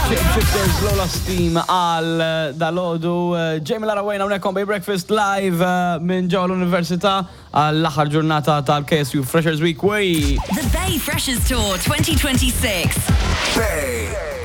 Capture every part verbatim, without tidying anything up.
Shapeshifters, Lola Steam għal eh, dalgħodu. eh, Jamie Lara Wayne hawnhekk on Bay Breakfast live eh, minn ġewwa l-Università għall-aħħar ġurnata tal-K S U Freshers Week. Wey! The Bay Freshers Tour twenty twenty-six.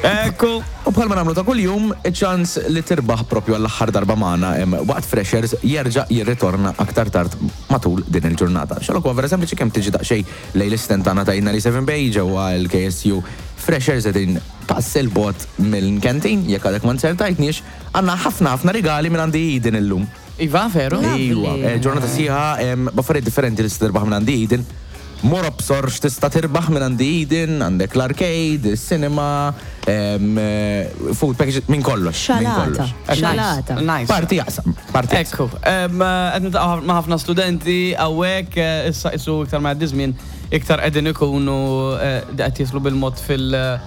Ekku! U bħalma nagħmlu ta' kuljum, ċans li tirbaħ propju għall-aħħar darba magħna em, waqt Freshers jerġa' jirritorna aktar tard matul din il-ġurnata. Xalok huwa vera sempliċi, kemm tiġi daqsxejn lejn l-istand tagħna ta' ninety seven Bay ġewwa l-K S U Freshers, qegħdin pass 'il bogħod mill-kantin, jekk għadek ma nsertajtniex, għandna ħafna ħafna rigali minn għandi Eden illum. Iva, veru? Ejwa, eh, ġurnata sħiħa em, b'affarijiet differenti li tista' tirbaħ minn għandi Eden. Mor obsor x'tista' tirbaħ minn għandi Eden, għandek l-arcade, il-cinema, em, eh, food package, minn kollox. Minn Xalata. kollox. Xalata. Nice. Parti jaqsam, parti jaqsam. Ekku, em, eh, qed niltaqgħu ma' ħafna studenti hawnhekk, eh, issa isu iktar ma jgħaddi żmien, iktar qegħdin ikunu eh, qed jislu bil-mod fil-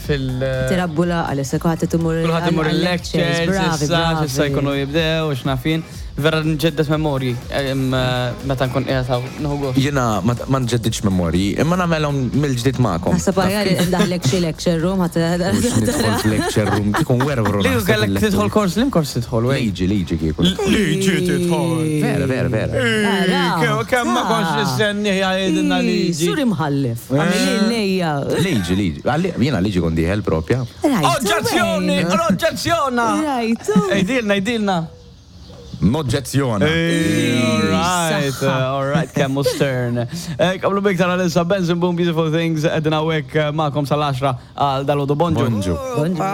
fil- Tirabbula għal-issa kulħadd imur Kulħadd imur il-lectures, Bravi, issa, issa bravi. jkunu jibdew, x'naf jien. Vera nġeddet memorji em, eh, meta nkun qiegħed hawn, nieħu gost. Jiena ma ma nġeddidx memorji, imma nagħmelhom mill-ġdid magħkom. Naħseb aħjar ndaħlek xi lecture room ħadd. Mhux nidħol f'lecture room, kikun werwru. Li naħseb kellek il-lecture. tidħol kors, lim kors tidħol, wey? Liġi, liġi kieku. Liġi tidħol. Vera, vera, vera. Kemm ma kontx nistenni jgħidilna liġi. Sur imħallef. Għamil lejja. Liġi, liġi. Għalli- Jiena liġi kon dieħel propja. Oġġezzjoni, oġġezzjona! Rajtu. Ejdilna, ejdilna. Noġġezzjona. All right, Saħħa. all right, kemmu stern. Eh, Qablu biktar għal-issa Benson Boone, Beautiful Things, qegħdin hawnhekk magħkom sal-għaxra għal dalgħodu. Bonġu. Bonġu. Bonġu.